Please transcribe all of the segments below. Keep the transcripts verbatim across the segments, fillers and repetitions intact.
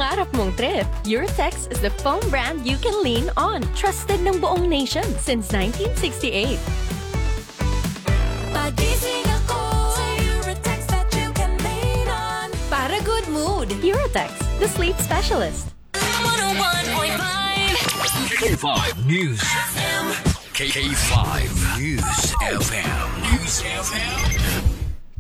Pangarap mong trip? Eurotex is the foam brand you can lean on. Trusted ng buong nation since nineteen sixty-eight. Pagising ako sa Eurotex that you can lean on. Para good mood, Eurotex, the sleep specialist. one oh one point five K five News. K K five News F M. News F M.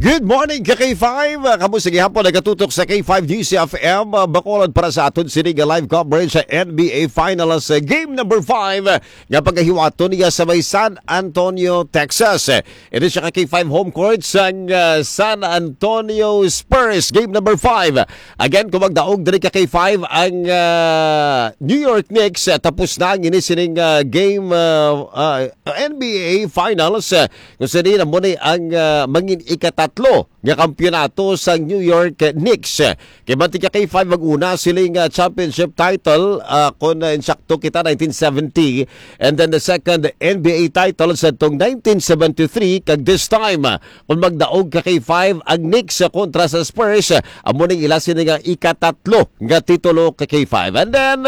Good morning, ka K five. Kamo sa gihapon nagatutok sa K five News F M. Bacolod para sa aton sini nga live coverage sa N B A Finals, eh, game number five, eh, nga pagahiwaton niya sa may San Antonio, Texas. Eh, ini siya ka K five home court sang, ah, San Antonio Spurs, game number five. Again, kung magdaog diri ka K five ang, ah, New York Knicks, ah, tapos na ang ini sining, ah, game, ah, ah, N B A Finals, ah, kung sini na mo ni ang, ah, mangin ikatatlo nga kampiyonato sa New York Knicks. Kay mantika kay five mag-una siling, ah, championship title, ah, kung, ah, insakto kita, nineteen seventy, and then the second N B A title sa tong nineteen seventy-three, kag this time, ah, kung magdaog ka kay five ang Knicks, ah, kontra sa Spurs, ah, amo ning ila sini nga ikatatlo nga titulo ka kay five. And then,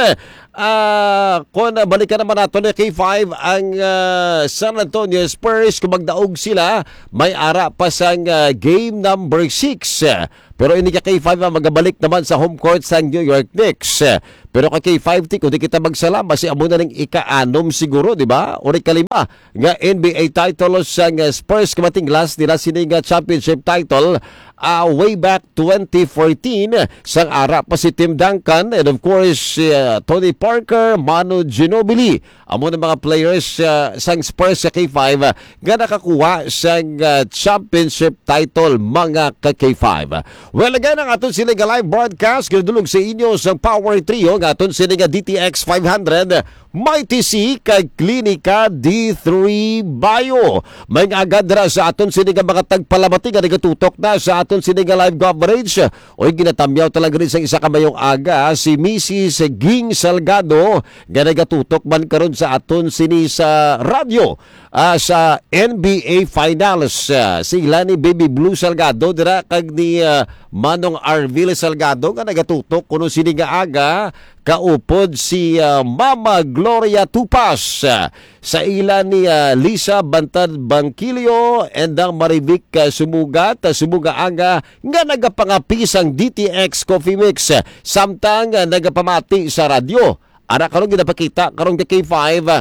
ah, kung, ah, balikan naman nato ni kay five ang, ah, San Antonio Spurs, kung magdaog sila, may ara pa sang, ah, game number six. Pero ini ka kay five, ah, magabalik naman sa home court sang New York Knicks. Pero ka kay five, ti, kung di kita magsala, basi amo na ning ika-anom siguro, di ba? O ika-lima nga N B A title sang, ah, Spurs, kamating last nila sini nga championship title, ah, way back twenty fourteen, sang ara pa si Tim Duncan and of course si, ah, Tony Parker, Manu Ginobili. Amo na mga players, ah, sang Spurs sa K five, ah, nga nakakuha sang, ah, championship title, mga ka K five. Well, again, ang aton sila nga live broadcast ginadulog sa inyo sang Power Trio nga aton sila nga D T X five hundred, Mighty C, kag Klinika D three Bio. May nga agad ra sa aton sini nga mga tagpalamati nga nagatutok na sa aton sini nga live coverage. Oy, ginatamyaw talaga rin sa isa ka mayong aga si Missus Ging Salgado nga nagatutok man karon sa aton sini sa radyo, ah, sa N B A Finals. Ah, sila ni Baby Blue Salgado dira kag ni, ah, Manong Arvil Salgado nga nagatutok kuno sini nga aga kaupod si, ah, Mama Gloria Tupas, ah, sa ila ni, ah, Lisa Bantad Bangkilio and ang Marivic, ah, Sumugat, ah, Sumugaanga nga nagapangapi sang D T X Coffee Mix, ah, samtang, ah, nagapamati sa radyo. Ara karon ginapakita karon ka K five, ah,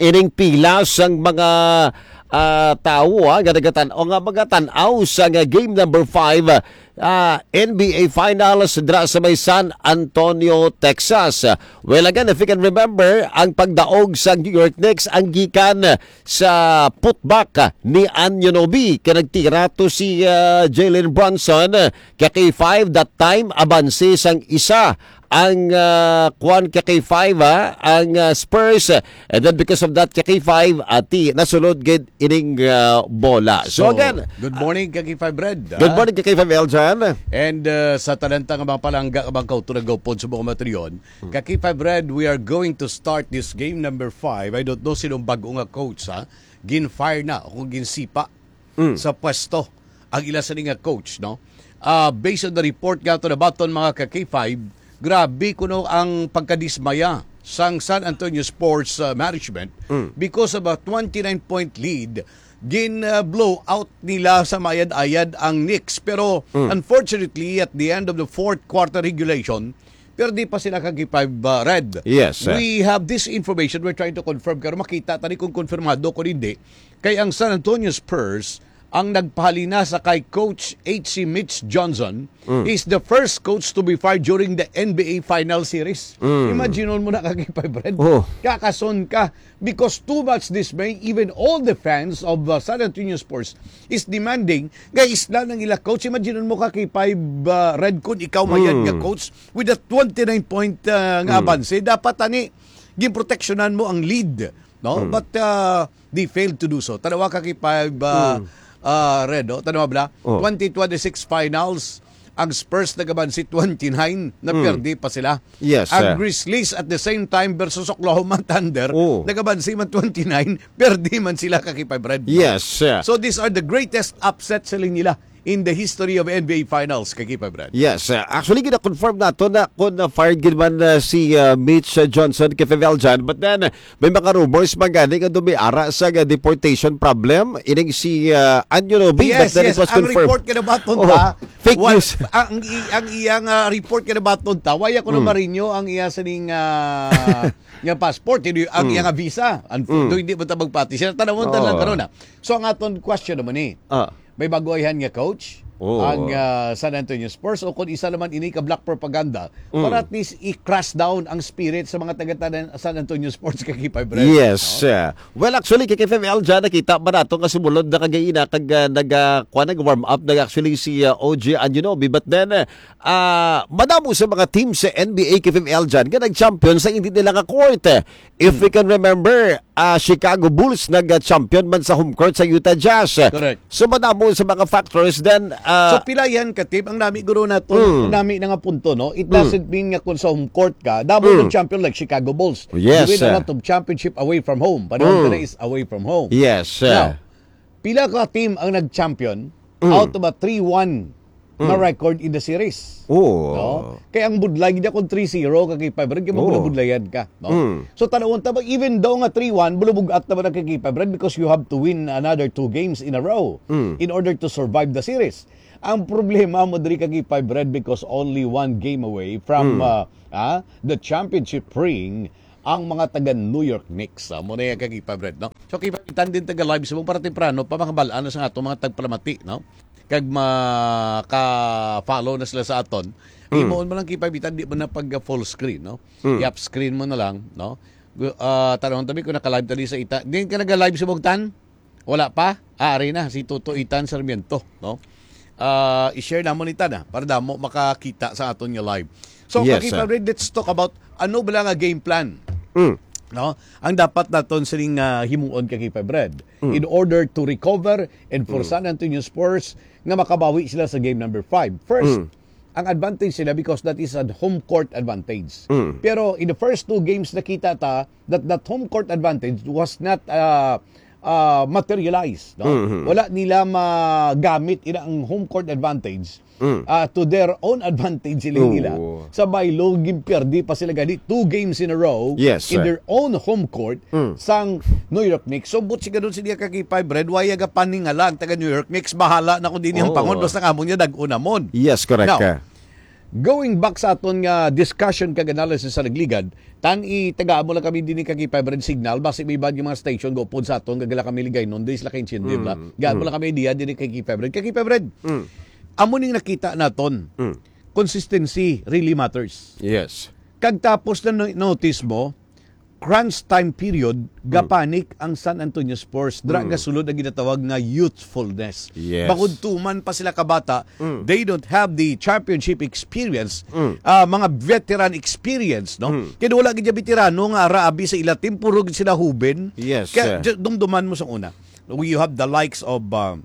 ining pila sang mga, ah, tawo, ah, nga nagatan-, o nga magatan-aw sa nga game number five, ah, N B A Finals dra sa may San Antonio, Texas. Well, again, if you can remember, ang pagdaog sa New York Knicks ang gikan sa putback ni Anunoby, kay nagtira to si, ah, Jalen Brunson, kay K five that time, abanse sang isa ang, ah, kuwan ka K five, ha, ang, ah, Spurs. And then because of that, ka K five, ati, nasulod gid ining, ah, bola. So, So, again, good morning, ka K five Red, good ah. Morning, ka K five Eljan. And, ah, sa talanta nga mga palangga, nga mga kauto nagupod sa mga matriyon, Hmm. ka K five Red, we are going to start this game number five. I don't know sinong bago nga coach, ha? Gin-fire na o kung ginsipa Mm. sa pwesto ang ila sini nga coach, no? Ah, based on the report nga to nabaton, mga ka K five, grabe kuno ang pagkadismaya sang San Antonio Sports, ah, Management Mm. because of a twenty-nine point lead, gin, ah, blow out nila sa mayad-ayad ang Knicks. Pero Mm. unfortunately, at the end of the fourth quarter regulation, pero di pa sila ka K five, ah, Red. Yes, sir. We have this information, we're trying to confirm, pero makita tani kung konfirmado kung hindi. Kay ang San Antonio Spurs ang nagpahalina sa kay Coach H C Mitch Johnson Mm. is the first coach to be fired during the N B A Final Series. Mm. Imagine mo na, ka K five Red. Oh. Kakason ka. Because too much dismay, even all the fans of, uh, San Antonio Spurs is demanding nga isla ng ila coach. Imagine mo, ka K five, uh, Red, kun ikaw mayad Mm. nga coach with a twenty-nine point, uh, nga Mm. abanse. Dapat ani, ginproteksyonan mo ang lead, no? Mm. But, uh, they failed to do so. Tanawa, ka K five, uh, Mm. uh, Red, no? Tanawa bala? Oh. Twenty twenty-six finals, ang Spurs nagabansi twenty-nine, na Mm. perde pa sila. Yes, Ang sir. Grizzlies at the same time versus Oklahoma Thunder, Oh. nagabansi man twenty-nine, perde man sila, ka K five Red, no? Yes, sir. So these are the greatest upset sa nila in the history of N B A Finals, Kakipa Brad. Yes, uh, actually, gina-confirm nato na kung, uh, fired gid man, uh, si, uh, Mitch, uh, Johnson kay Fifel John. But then, uh, may mga rumors man gani nga daw may ara sa, uh, deportation problem. Ining si, uh, Anunoby, Yes, but then yes. it was Ang confirmed. report kinabaton Oh, ta, fake wal-, news. ang, i-, ang iyang, ah, report kinabaton ta, waya ko na Mm. marinyo ang iya sining, ah, nga passport, hindi, ang Mm. iya nga visa. Ang Mm. do hindi mo ta magpati. Siya, tanawon ta lang Oo. karon, ah. So, ang aton question naman ni, Ah. may baguhan nga coach Oo. ang, ah, San Antonio Spurs o kung isa naman ini ka black propaganda Mm. para at least i-crash down ang spirit sa mga taga San Antonio Spurs, Kakipa Brad. Yes. No? Uh, well, actually, K K F M L dyan, nakita ba nato nga sumulod na kagaina kag, ah, nag, ah, kuha, nag-warm up na actually si, ah, O G Anunoby. But then, ah, madamo sa mga team sa N B A, K F M L dyan, nga nag-champion sa hindi nila nga court. If Hmm. we can remember, ah, Chicago Bulls nag-champion man sa home court sa Utah Jazz. Correct. So, madamo sa mga factors then, ah, So, pila yan ka team? Ang nami, guro, nato, Mm. nami na nga punto, no? It Mm. doesn't mean nga kung sa home court ka, damo Mm. ng champion like Chicago Bulls. Yes, You win a sir. lot of championship away from home. Panahon Mm. ka na is away from home. Yes, sir. Now, pila ka team ang nag-champion Mm. out of a three one na Mm. record in the series? Oo. No? Kaya ang budlay niya kung three zero, Kakipa Brad, kaya Oo. mabulabudlayan ka. No? Mm. So, tanawon ta ba, even though nga three one, bulubugat naman ang Kakipa Brad because you have to win another two games in a row Mm. in order to survive the series. Ang problema mo diri, Kakipa Brad, because only one game away from, Mm. uh, ah, the championship ring ang mga taga New York Knicks. Ah, mo na yan, Kakipa Brad, no? So, Kakipa, itan din taga live sa mong para temprano pa makabal-an na sa ato mga tagpalamati, no? Kag maka-follow na sila sa aton. Mm. Imoon mo lang, Kakipa, bitan di mo na pag full screen, no? Mm. I-up screen mo na lang, no? Gu-, ah, tanong tabi kung naka-live tali sa ita. Din ka naga-live sa Bogtan? Wala pa? Ah, ari na, si Toto Itan Sarmiento, no? Ah, i-share namon ni Tana para damo makakita sa aton nga live. So, Yes, Kakipa sir. Brad, let's talk about ano bala nga game plan, Mm. no? Ang dapat naton sining, ah, himuon, Kakipa Brad, Mm. in order to recover and for Mm. San Antonio Spurs nga makabawi sila sa game number five. First, Mm. ang advantage sila because that is a home court advantage. Mm. Pero in the first two games, nakita ta that that home court advantage was not, uh, uh, materialized, no? Mhm. Wala nila magamit ila ang home court advantage, Mm. uh, to their own advantage, siling nila. Oo. Sa baylo, ginperdi pa sila gani two games in a row Yes, in sir. their own home court Mm. sang New York Knicks. So, but sigadon sila, Kakipa Brad, waya ga paningalang taga New York Knicks, bahala na kung din yung Oo. pangon, basta nga mo niya, dag-unamon. Yes, correct Now, ka. Going back sa aton nga discussion kag analysis sa nagligad, tan itagaan mo lang kami din kay Febred signal, basi may iban nga mga station go pod sa aton, gagala kami ligay nun, di sila kaintindi, Mm, ba? Gaan mo mm. lang kami idea din kay Febred. Kay Febred, Mm. amo ning nakita naton. Mm. Consistency really matters. Yes. Kag tapos na no-, notice mo, crunch time period, Mm. gapanik ang San Antonio Spurs. Dra Mm. gasulod ang ginatawag nga youthfulness. Yes. Bangod tuman pa sila kabata, Mm. they don't have the championship experience, Mm. ah, mga veteran experience, no? Mm. Kaya wala gid veterano nga ara abi sa ila team, puro gid sila huben. Yes, Kaya sir. ju-, dumduman mo sa una. You have the likes of, ah,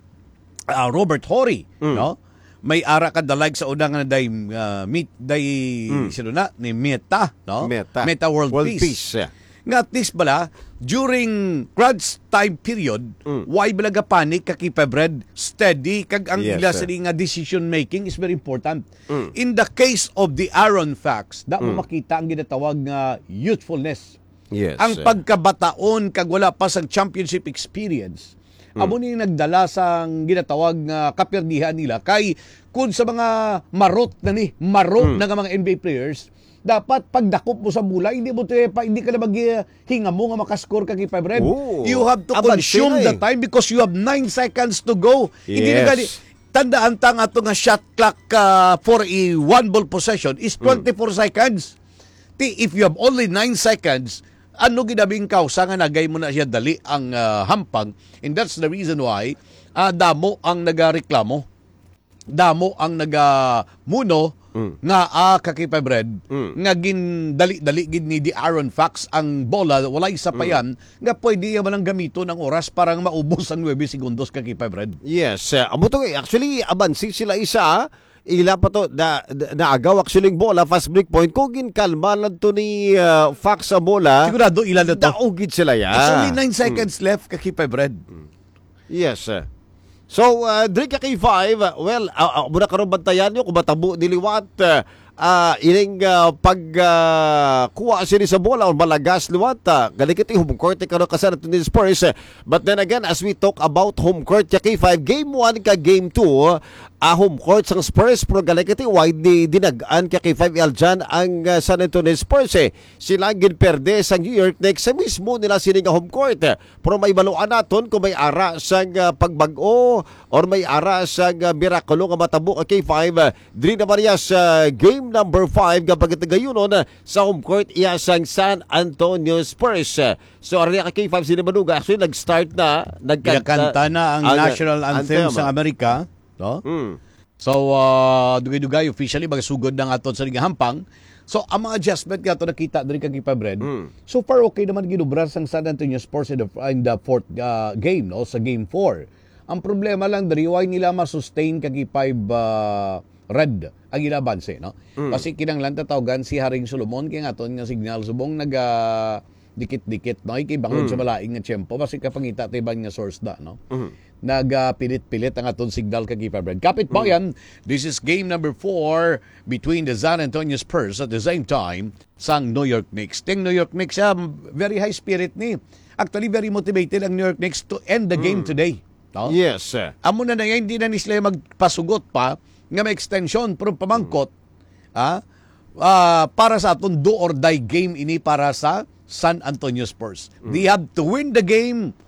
ah, Robert Horry, Mm. no? May ara ka the likes sa una nga day, ah, meet, day, Mm. sino na? Ni Meta, no? Meta. Meta World World Peace. Peace, yeah. Nga at least bala, during crunch time period, Mm. why bala ga panic ka kay Febred? Steady, kag ang Yes, ila sir. sini nga decision making is very important. Mm. In the case of the Aaron Fox, da mo Mm. makita ang ginatawag nga youthfulness. Yes, Ang sir. pagkabataon kag wala pa sang championship experience, Mm. amo ni nagdala sang ginatawag nga kapirdihan nila. Kay kun sa mga marot na ni, marot Mm. na nga mga N B A players, dapat pagdakop mo sa bola, hindi mo to pa, hindi ka na maghingamo nga makascore ka kay Febred. Oo. You have to Abanse consume na the eh. time because you have nine seconds to go. Hindi na Yes. gani, tandaan ta nga ato nga shot clock, ah, for a one ball possession is Mm. twenty-four seconds. Ti, if you have only nine seconds, ano gid abi ang kausa nga nagay mo na siya dali ang, ah, hampang? And that's the reason why, ah, damo ang nagareklamo. Damo ang nagamuno Mm. nga, ah, ka kay Febred, Mm. nga gindali-dali gid ni De'Aaron Fox ang bola, walay Mm. sapayan, nga pwede iya man ang gamiton ang oras para nga maubos ang nuebe segundos ka kay Febred. Yes, uh, amo to, eh. Actually, abansi sila isa, ah. Ila pa to, na, na, naagaw actually ang bola, fast break point. Kung ginkalma lang to ni, uh, Fox sa bola, Sigurado, ila na to. daog gid sila, ya. It's only nine Mm. seconds left ka kay Febred. Mm. Yes, sir. So, uh, diri ka K five, well, uh, uh, muna karon bantayan nyo kung matabo ni liwat, uh, uh, ining uh, pag uh, kuha sini sa bola o malagas liwat, uh, galing ito yung home court ni karon ka San Antonio Spurs. Uh, but then again, as we talk about home court ka K five, game one ka game two, uh, home court sang Spurs, pero galing ito wide ni dinagan ka K five Eljan ang uh, San Antonio Spurs. Eh. Sila ginperde sa New York Knicks sa mismo nila sini nga home court. Pero may baluan naton kung may ara sang ah, pagbag-o or may ara sang ah, mirakulo nga matabo ka K five. Diri naman iya sa game number five nga pagkatagayunon sa home court iya sang San Antonio Spurs. So, ari ka K five sini maduga. Actually, nag-start na. Nagkanta, Pinakanta na ang ang national anthem anthem. Sa Amerika, no? Hmm. So, ah, dugay-dugay, officially, magasugod na nga aton sa ligahampang. So, ang mga adjustment nga ato nakita diri kang K five Red, Mm. so far okay naman ginubra sang San Antonio Spurs in the, in the fourth ah, game, no, sa game four. Ang problema lang diri, why nila ma-sustain kang K five ah, Red ang ila abanse, no? Mm. Kasi kinahanglan tatawgan si Haring Solomon kay nga aton nga signal subong naga dikit-dikit, no? Kay bangod Mm. sa malain nga tiyempo, basi kapangita ta iban nga source da, no? Mm. Nagapilit-pilit ang aton signal kag K five Red. Kapit bayan, this is game number four between the San Antonio Spurs at the same time sang New York Knicks. Ting New York Knicks, ah, very high spirit ni. Actually, very motivated ang New York Knicks to end the game Mm. today. No? Yes, sir. Amo na na yan, hindi na ni sila magpasugot pa nga may extension, pero pamangkot, ah, ah, para sa aton do or die game ini para sa San Antonio Spurs. They have to win the game